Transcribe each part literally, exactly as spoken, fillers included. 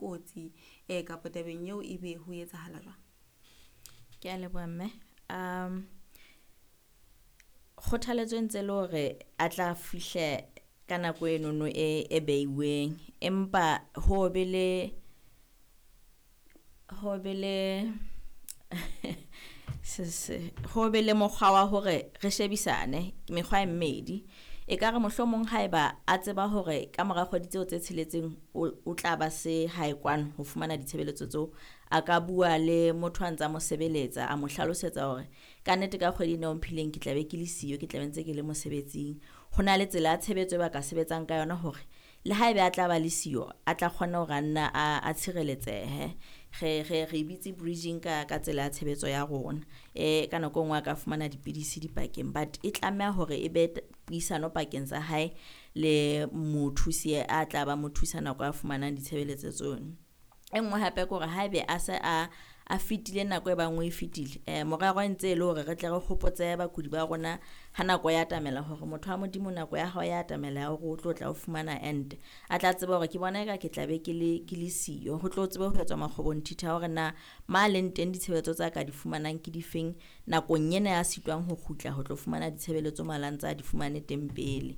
kotsi um kapa tabeng eo ebe ho etsahala jwang? Ke a leboha mme. Um kgothaletso e ntse le hore a tla fihle ka nako enono e e beiweng, empa ho be le ho be le se ho be le mokgwa wa hore re shebisane mekgwa e mmedi. Ekare mohlomong haeba a tseba hore ka mora kgwedi tseo tse tsheletseng o tla ba se hae kwano ho fumana ditshebeletso tseo, a ka bua le motho a ntsa mo sebeletsa, a mo hlalosetsa hore kannete ka kgwedi ena o mphileng ke tla be ke le siyo, ke tla be ntse ke le mosebetsing. Ho na le tsela ya tshebetso e ba ka sebetsang ka yona hore le haebe a tla ba le siyo, a tla kgona hore a nna a tshireletsehe. Re re re bitse bridging ka ka tsela ya tshebetso ya rona. E ka nako e nngwe a ka fumana dipidisi dipakeng, but e tlameha hore e be puisano pakeng tsa hae le mothusi a tla ba mo thusa nako a fumanang ditshebeletso tseno. E nngwe hape ke hore haebe a se a a fetile nako e bang o e fetile, morero e ntse e le hore re tle re hopotse bakudi ba rona ha nako ya atamela hore motho wa Modimo nako ya hao ya atamela ya hore o tlo tla o fumana ente. A tla tseba hore ke bona eka ke tla be ke le ke le siyo, ho tlo tsebe ho etswa makgobonthithi a hore na ma leng teng ditshebeletso tsa ka di fumanang ke difeng nakong ena ya sitwang ho kgutla ho tlo fumana ditshebeletso mala ntse a di fumane teng pele.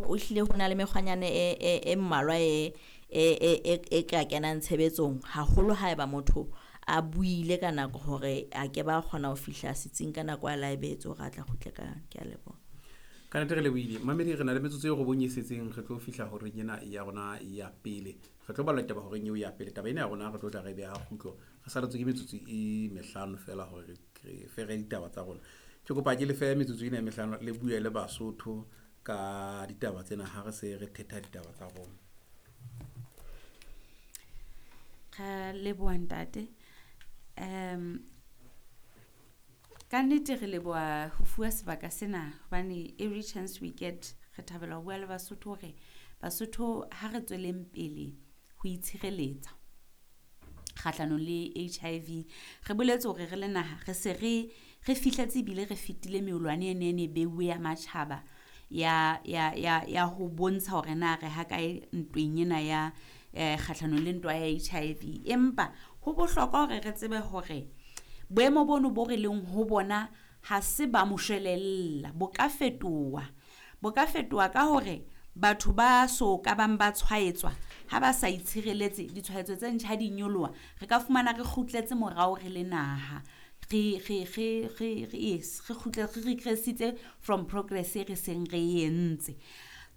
O hlile ho na le mekgwanyana e e e mmalwa e e e e ka kenang tshebetsong haholo haeba motho a buile ka nako hore a ke ba kgona ho fihla setsing ka nako a la e behetse hore a tla kgutle ka yona. Ke a leboha. Ka nnete re lebohile. Mamedi, re na le metsotso e robong e setseng, re tlo fihla horeng ena ya rona ya pele. Re tlo bala taba horeng eo ya pele. Taba ena ya rona re tlo tla re beha kgutlo. Re saletswe ke metsotso e mehlano fela hore re fere ditaba tsa rona. Ke kopa ke le fe metsotso ena e mehlano le bue le Basotho ka ditaba tsena ha re se re thetha ditaba tsa rona. Ra leboha ntate. Um ka nnete re leboha ho fuwa sebaka sena hobane every chance we get re thabela ho bua le Basotho hore Basotho ha re tsweleng pele ho itshireletsa kgahlanong le H I V. Re boletse hore re le naha re se re re fihletse ebile re fetile meolwane ene e ne beuwe ya matjhaba ya ya ya ya ho bontsha hore na re ha kae ntweng ena ya eh kgahlanong le ntwa ya H I V. Empa ho bohlokwa hore re tsebe hore boemo bono bo re leng ho bona ha se ba moshwelella, bo ka fetoha. Bo ka fetoha ka hore batho ba so ka bang ba tshwaetswa ha ba sa itshireletse, ditshwaetso tse ntjha di nyoloha, re ka fumana re kgutletse morao re le naha, re re re re re yes re kgutle re regressitse from progress e re seng re entse.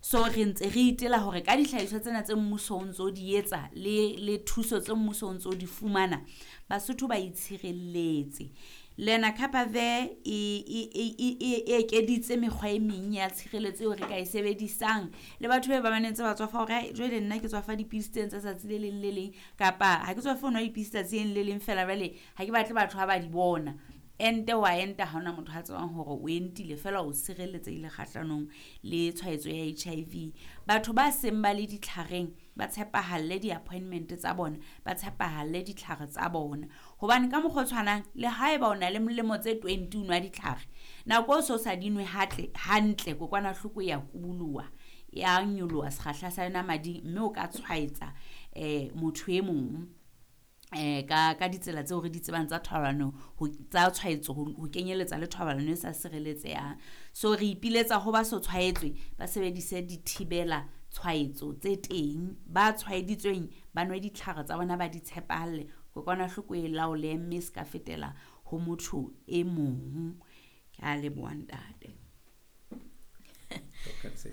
So re ntse re itela hore ka dihlahiswa tsena tse mmuso o ntso di etsa le le thuso tse mmuso o ntso di fumana, Basotho ba itshireletse. Lenacapavir e e e e ekeditse mekgwa e meng ya tshireletso eo re ka e sebedisang le batho ba ba ntse ba tswafa hore jwale nna ke tswafa dipidisi tsena tsa tsatsi le leng le leng, kapa ha ke tswafe ho nwa dipidisi tsatsi le leng fela, jwale ha ke batle batho ha ba di bona. Ente wa enta, ha hona motho a tsebang hore o entile, fela o sireletsehile kgahlanong le tshwaetso ya H I V. Batho ba seng ba le ditlhareng ba tshepahalle di-appointment tsa bona, ba tshepahalle ditlhare tsa bona, hobane ka mokgwa o tshwanang le haeba o na le molemo tse twenty o nwa ditlhare, nako o so sa di nwe hatle hantle, kokwanahloko ya kubuluha, ya nyoloha sekgahla sa yona mading, mme o ka tshwaetsa eh motho e mong eh ka ka ditsela tseo re di tsebang tsa thobalano, tsa tshwaetso, ho kenyeletsa le thobalano e sa sireletsehang. So re ipiletsa ho ba so tshwaetswe ba sebedise dithibela tshwaetso tse teng, ba tshwaeditsweng ba nwe ditlhare tsa bona, ba di tshepahalle, kokwanahloko e laole mme se ka fetela ho motho e mong. Ke a leboha ntate.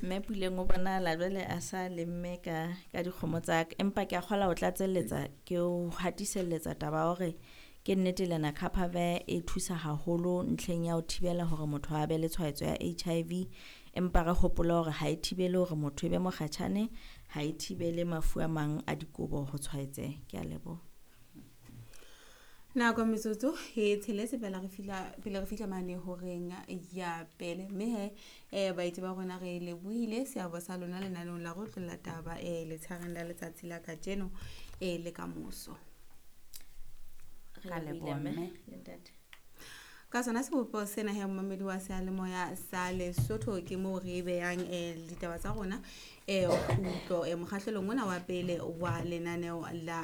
Mme Puleng o bonahala jwale a sa lemme ka ka dikgomo tsa ka, empa ke a kgola ho tlatselletsa ke o hatiselletsa taba ya hore ke nnete Lenacapavir e thusa haholo ntlheng ya ho thibela hore motho a be le tshwaetso ya H I V, empa re hopole hore ha e thibele hore motho e be mokgatjhane, ha e thibele mafu a mang a dikobo ho tshwaetseha. Ke a leboha. Nako metsotso e tsheletse pele re fihla pele re fihla mane horeng ya pele, mme he um baeti ba rona re lebohile seabo sa lona lenaneong la Re Otlolla Taba um letshareng la letsatsi la kajeno um le kamoso. Re Ka lebohile leboha, mme mme. Le ntate. Ka sona sebopeho sena he, momamedi wa seyalemoya sa Lesotho, ke moo re behang um ditaba tsa rona um kgutlo um mokgahlelong ona wa pele wa lenaneo la.